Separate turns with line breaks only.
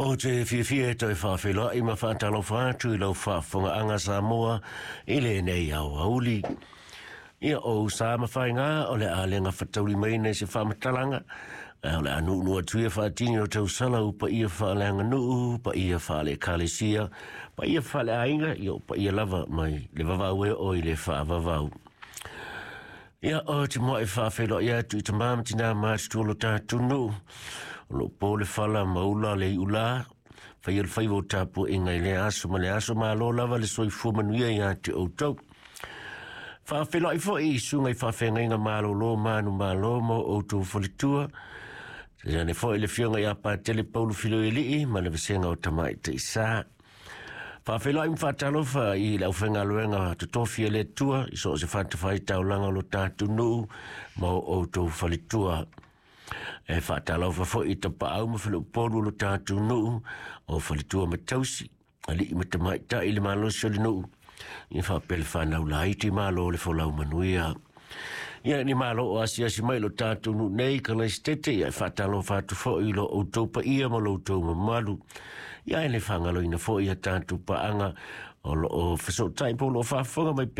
Ou te fiafia e toe faafeiloai ma faatalofa atu i lau faafofogaaga Samoa i lenei aoauli. Ia, o ou sa ma faiga o le a le gafataulimaina i se faamatalaga, ae o le a nuunuu atu ia faatini o tausala u paia faaleaganuu, paia faale-ekalesia, paia faaleaiga, ia o paia lava mai le vavau e oo i le faavavau. Ia, ou te muai faafeiloai atu i tamā ma tinā matutua o lo tatou nuu, o lo o po le fala ma ula le iulā, faia le faiva o tapuaiga i lea aso ma le aso, malo lava le soifua manuia ia te outou. Faafeiloai foi i susuga i faafeagaiga malolo manumalo ma o outou faletua, tainane foi le Afioga ia Patele Paulo Filoialii ma le vasega o Tamaitai Sa. Faafeiloai ma faatalofa i le aufaigaluega totofi a le Atua i so o se fatafaitaulaga o lo tatou nuu ma o outou faletua. E faatalofa foi i tapaau ma faleupolu o lo tatou nuu, o faletua ma tausi, alii ma tamaitai i le malosi o le nuu, ia faapea le fanau laiti, malo le folau manuia. Ia ni malo o asiasi mai lo tatou nuu nei Kalaisitete, ia e faatalofa atu foi i lo outou paia ma lo outou mamalu. Ia e le faagaloina foi ia tatou paaga o lo o fesootai po o lo o faafofoga mai pea.